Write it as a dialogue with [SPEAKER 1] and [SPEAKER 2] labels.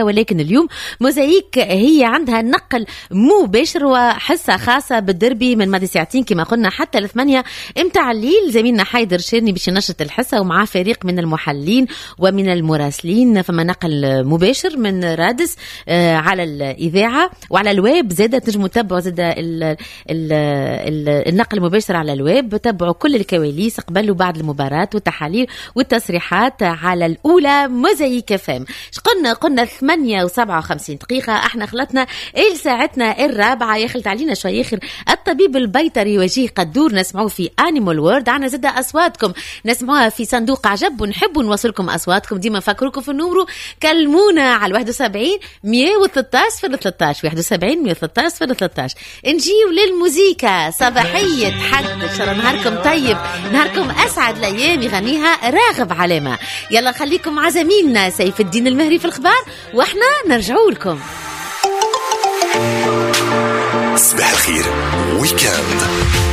[SPEAKER 1] ولكن اليوم موزايك هي عندها نقل مباشر وحصة خاصة بالدربي من ماضي ساعتين كما قلنا حتى 8 متاع الليل. زميلنا حيدر شيرني باش ينشط الحصة ومعاه فريق من المحللين ومن المراسلين. فما نقل مباشر من رادس على الإذاعة وعلى الويب زادة، تنجموا تتبعوا زادة النقل المباشر على الويب، تبعوا كل الكواليس قبل وبعد المباراة والتحاليل والتصريحات على الأولى موزايك FM. قلنا 8:57، احنا خلطنا الى ساعتنا الرابعة، يخلط علينا شوي اخر الطبيب البيطري وجيه قدور نسمعوه في Animal World. عنا زادة اصواتكم نسمعوها في صندوق عجب، ونحبوا نوصلكم اصواتكم، ديما نفكركم في ال numéro، كلمونا على 71 113 013، 71 113 013. نجيو للموزيكا صباحية حد، ان شاء الله نهاركم طيب، نهاركم اسعد الايام، يغنيها راغب علامة. يلا خليكم مع زميلنا سيف الدين المهري في الخبار واحنا نرجعوا لكم.
[SPEAKER 2] صباح الخير week-end.